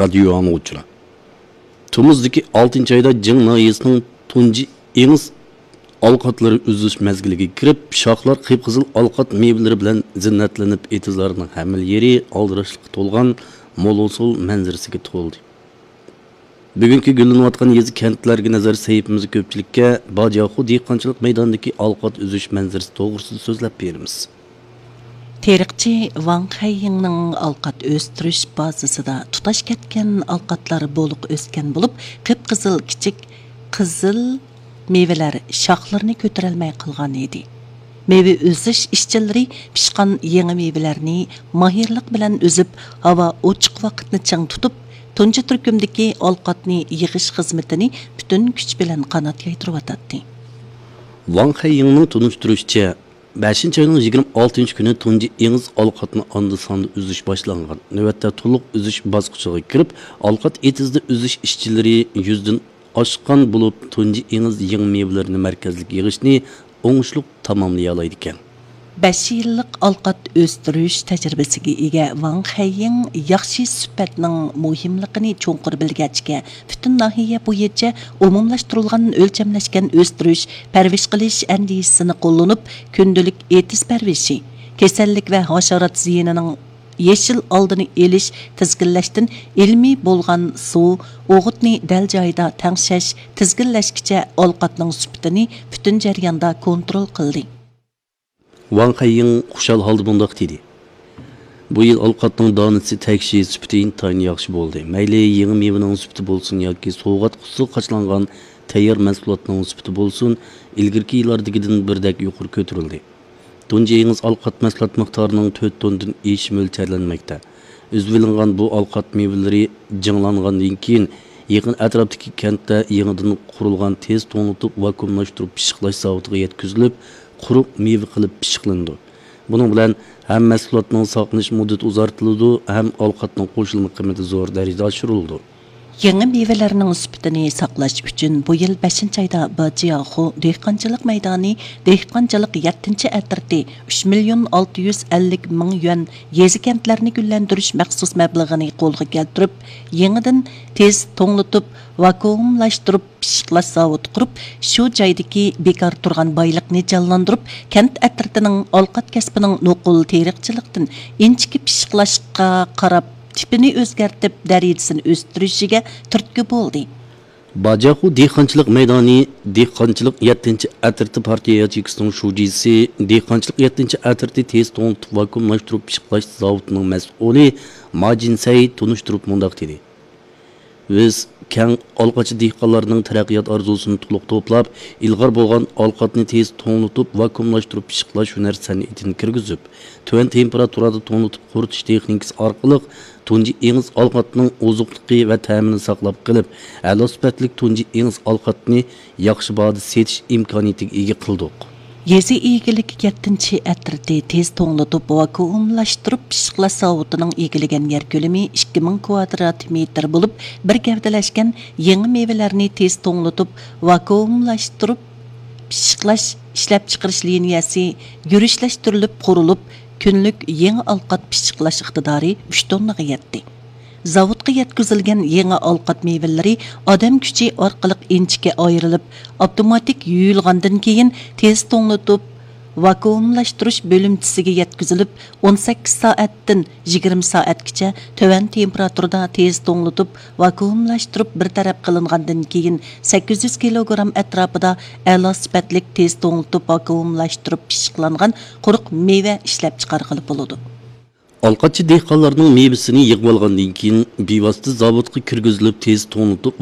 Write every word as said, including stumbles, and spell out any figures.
رادىيو ئاڭلىغۇچىلار، تومۇزدىكى ئالتىنچى ئايدا جىڭ ناھىيەسىنىڭ تۇنجى ئېڭىز ئالقاتلىرى ئۈزۈش مەزگىلىگە كىرىپ، شاخلار قىپقىزىل ئالقات مېۋىلىرى بىلەن زىننەتلىنىپ، ئېتىزلارنىڭ ھەممىلا يېرى ئالدىراشلىققا تولغان مول ھوسۇل مەنزىرىسىگە تولدى. بۈگۈنكى گۈللىنىۋاتقان يېزا، كەنتلەرگە نەزەر سەھىپىمىزدە كۆپچىلىككە باجياخۇ دېھقانچىلىق مەيدانىدىكى ئالقات ئۈزۈش مەنزىرىسى توغرىسىدا سۆزلەپ بېرىمىز. تېرىقچى ۋاڭ خەييىڭنىڭ ئالقات ئۆستۈرۈش بازىسىدا تۇتاش كەتكەن ئالقاتلار بولۇق ئۆسكەن بولۇپ، قىپقىزىل كىچىك قىزىل مېۋىلەر شاخلىرىنى كۆتۈرەلمەي قالغان ئىدى. مېۋە ئۈزۈش ئىشچىلىرى پىشقان يېڭى مېۋىلەرنى ماھىرلىق بىلەن ئۈزۈپ، ھاۋا ئوچۇق ۋاقىتنى چىڭ تۇتۇپ، تۇنجى تۈركۈمدىكى ئالقاتنى يىغىش خىزمىتىنى پۈتۈن كۈچ بىلەن قانات يايدۇرۇۋاتاتتى. ۋاڭ خەييىڭنىڭ تونۇشتۇرۇشىچە، بەشىنچى ئاينىڭ يىگىرمە ئالتىنچى كۈنى تۇنجى ئېڭىز ئالقاتنى ئاندا-ساندا ئۈزۈش باشلانغان. نۆۋەتتە تولۇق ئۈزۈش باسقۇچىغا كىرىپ، ئالقات ئېتىزىدا ئۈزۈش ئىشچىلىرى يۈزدىن ئاشقان بولۇپ، تۇنجى ئېڭىز يېڭى مېۋىلىرىنى مەركەزلىك يىغىشنى ئوڭۇشلۇق تاماملىيالايدىكەن. بەش يىللىق ئالقات ئۆستۈرۈش تەجرىبىسىگە ئىگە ۋاڭ خەييىڭ ياخشى سۈپەتنىڭ مۇھىملىقىنى چوڭقۇر بىلگەچكە، پۈتۈن ناھىيە بويىچە ئومۇملاشتۇرۇلغان ئۆلچەملەشكەن ئۆستۈرۈش، پەرۋىش قىلىش ئەندىزىسىنى قوللىنىپ، كۈندىلىك ئېتىز پەرۋىشى، كېسەللىك ۋە ھاشارات زىيىنىنىڭ يېشىل ئالدىنى ئېلىش، تىزگىنلەشتىن ئىلمىي بولغان سۇ، ئوغۇتنى دەل جايىدا تەڭشەش، تىزگىنلەشكىچە ئالقاتنىڭ سۈپىتىنى پۈتۈن جەرياندا كونترول قىلدى. ۋاڭ خەييىڭ خۇشال ھالدا مۇنداق دېدى: بۇ يىل ئالقاتنىڭ دانىسى تەكشى سۈپىتى ئىنتايىن ياخشى بولدى. مەيلى يېڭى مېۋىنىڭ سۈپىتى بولسۇن ياكى سوۋغات قۇتىسىغا قاچىلانغان تەييار مەھسۇلاتنىڭ سۈپىتى بولسۇن، ئىلگىرىكى يىللاردىكىدىن بىردەك يۇقىرى كۆتۈرۈلدى. تۇنجى ئېڭىز ئالقات مەھسۇلات مىقدارىنىڭ تۆت توننىدىن ئېشىشى مۆلچەرلەنمەكتە. ئۈزۈۋېلىنغان بۇ ئالقات مېۋىلىرى جىڭلانغاندىن كېيىن، يېقىن ئەتراپتىكى كەنتتە يېڭىدىن قۇرۇلغان تېز توڭلىتىپ ۋاكۇئۇملاشتۇرۇپ پىششىقلاش زاۋۇتىغا يەتكۈزۈلۈپ، قۇرۇق مېۋە قىلىپ پىششىقلىنىدۇ. بۇنىڭ بىلەن ھەم مەھسۇلاتنىڭ ساقلىنىش مۇددىتى ئۇزارتىلىدۇ، ھەم ئالقاتنىڭ قوشۇلما قىممىتى زور دەرىجىدە ئاشۇرۇلىدۇ. يېڭى مېۋىلەرنىڭ سۈپىتىنى ساقلاش ئۈچۈن، بۇ يىل بەشىنچى ئايدا باجياخۇ دېھقانچىلىق مەيدانى دېھقانچىلىق يەتتىنچى ئەترىتى ئۈچ مىليون ئالتە يۈز ئەللىك مىڭ يۈەن يېزا، كەنتلەرنى گۈللەندۈرۈش مەخسۇس مەبلىغىنى قولغا كەلتۈرۈپ، يېڭىدىن تېز توڭلىتىپ، ۋاكۇئۇملاشتۇرۇپ پىششىقلاش زاۋۇتى قۇرۇپ، شۇ جايدىكى بىكار تۇرغان بايلىقنى جانلاندۇرۇپ، كەنت ئەترىتىنىڭ ئالقات كەسپىنىڭ نوقۇل تېرىقچىلىقتىن ئىنچىكە پىششىقلاشقا قاراپ، تىپىنى ئۆزگەرتىپ، دەرىجىسىنى ئۆستۈرۈشىگە تۈرتكە بولدى. باجاخۇ دېھقانچىلىق مەيدانى دېھقانچىلىق يەتتىنچى ئەترىتى پارتىيە ياچېيكىسىنىڭ شۇجىسى، دېھقانچىلىق يەتتىنچى ئەترىتى تېز توڭلىتىپ ۋاكۇئۇملاشتۇرۇپ پىششىقلاش زاۋۇتىنىڭ مەسئۇلى ما جىنسەي تونۇشتۇرۇپ مۇنداق دېدى: بىز كەڭ ئالقاتچى دېھقانلارنىڭ تەرەققىيات ئارزۇسىنى تولۇق توپلاپ، ئىلغار بولغان ئالقاتنى تېز توڭلىتىپ ۋاكۇئۇملاشتۇرۇپ پىششىقلاش ھۈنەر سەنئىتىنى كىرگۈزۈپ، تۆۋەن تېمپېراتۇرادا توڭلىتىپ قۇرۇتۇش تېخنىكىسى ئارقىلىق تۇنجى ئېڭىز ئالقاتنىڭ ئوزۇقلۇقى ۋە تەمىنى ساقلاپ قېلىپ، ئەلا سۈپەتلىك تۇنجى ئېڭىز ئالقاتنى ياخشى باھادا سېتىش ئىمكانىيىتىگە ئىگە قىلدۇق. يېزا ئىگىلىكى يەتتىنچى ئەترىتى تېز توڭلىتىپ ۋاكۇئۇملاشتۇرۇپ پىششىقلاش زاۋۇتىنىڭ ئىگىلىگەن يەر كۆلىمى ئىككى مىڭ كۋادرات مېتىر بولۇپ، بىر گەۋدىلەشكەن يېڭى مېۋىلەرنى تېز توڭلىتىپ ۋاكۇئۇملاشتۇرۇپ پىششىقلاش ئىشلەپچىقىرىش لىنىيەسى يۈرۈشلەشتۈرۈلۈپ قۇرۇلۇپ، كۈنلۈك يېڭى ئالقات پىششىقلاش ئىقتىدارى ئۈچ توننىغا يەتتى. زاۋۇتقا يەتكۈزۈلگەن يېڭى ئالقات مېۋىلىرى ئادەم كۈچى ئارقىلىق ئىنچىكە ئايرىلىپ، ئاپتوماتىك يۇيۇلغاندىن كېيىن، تېز توڭلىتىپ ۋاكۇئۇملاشتۇرۇش بۆلۈمچىسىگە يەتكۈزۈلۈپ، ئون سەككىز سائەتتىن يىگىرمە سائەتكىچە تۆۋەن تېمپېراتۇرىدا تېز توڭلىتىپ ۋاكۇئۇملاشتۇرۇپ بىر تەرەپ قىلىنغاندىن كېيىن، سەككىز يۈز كىلوگرام ئەتراپىدا ئەلا سۈپەتلىك تېز توڭلىتىپ ۋاكۇئۇملاشتۇرۇپ پىششىقلانغان قۇرۇق مېۋە ئىشلەپچىقارغىلى بولىدۇ. ئالقاتچى دېھقانلارنىڭ مېۋىسىنى يىغىۋالغاندىن كېيىن، بىۋاسىتە زاۋۇتقا كىرگۈزۈلۈپ، تېز توڭلىتىپ،